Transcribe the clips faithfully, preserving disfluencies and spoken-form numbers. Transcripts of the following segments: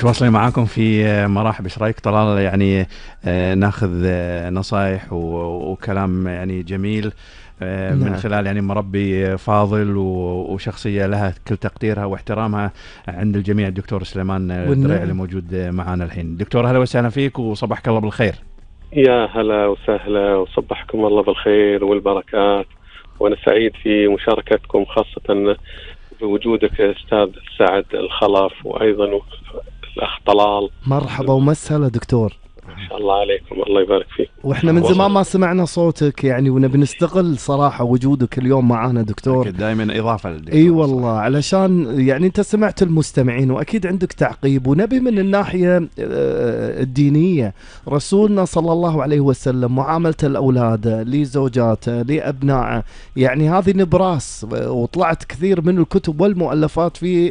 متواصلين معاكم في مراحب. ايش رايك طلال؟ يعني ناخذ نصائح وكلام يعني جميل من نعم. خلال يعني مربي فاضل وشخصية لها كل تقديرها واحترامها عند الجميع، الدكتور سليمان الدريع اللي والنعم. موجود معنا الحين. دكتور أهلا وسهلا فيك وصبحك الله بالخير. يا هلا وسهلا وصبحكم الله بالخير والبركات، وأنا سعيد في مشاركتكم خاصة بوجودك أستاذ سعد الخلف وأيضا الأخ طلال. مرحبا ومسهلا دكتور. ما شاء الله عليكم، الله يبارك فيك. واحنا من زمان ما سمعنا صوتك يعني، ونبي نستغل صراحة وجودك اليوم معانا دكتور. دائما إضافة للدكتور. اي والله، علشان يعني انت سمعت المستمعين واكيد عندك تعقيب، ونبي من الناحية الدينية رسولنا صلى الله عليه وسلم معاملة الاولاد لزوجاته لابنائه، يعني هذه نبراس، وطلعت كثير من الكتب والمؤلفات في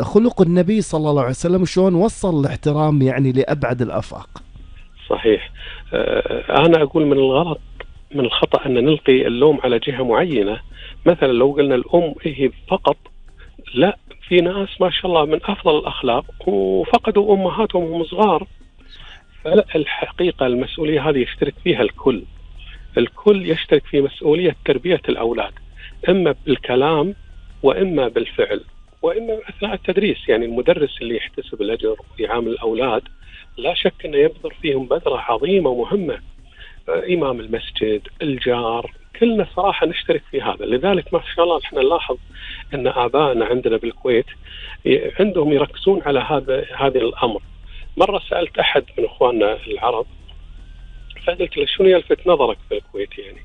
خلق النبي صلى الله عليه وسلم، شلون وصل الاحترام يعني لأبعد الآفاق. صحيح. أنا أقول من الغلط من الخطأ أن نلقي اللوم على جهة معينة. مثلا لو قلنا الأم هي فقط، لا، في ناس ما شاء الله من أفضل الأخلاق وفقدوا أمهاتهم وهم صغار. فالحقيقة المسؤولية هذه يشترك فيها الكل الكل يشترك في مسؤولية تربية الأولاد، إما بالكلام وإما بالفعل وإما أثناء التدريس. يعني المدرس اللي يحتسب الأجر ويعامل الأولاد لا شك أنه يبذر فيهم بذرة عظيمة ومهمة. إمام المسجد، الجار، كلنا صراحة نشترك في هذا. لذلك ما شاء الله نحن نلاحظ أن آبائنا عندنا بالكويت عندهم يركزون على هذا هذا الأمر. مرة سألت أحد من إخواننا العرب فقلت له شنو يلفت نظرك في الكويت؟ يعني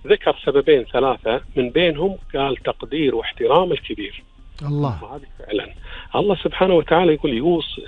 ذكر سببين ثلاثة من بينهم قال تقدير واحترام الكبير. الله. وهذه فعلا الله سبحانه وتعالى يقول يوصي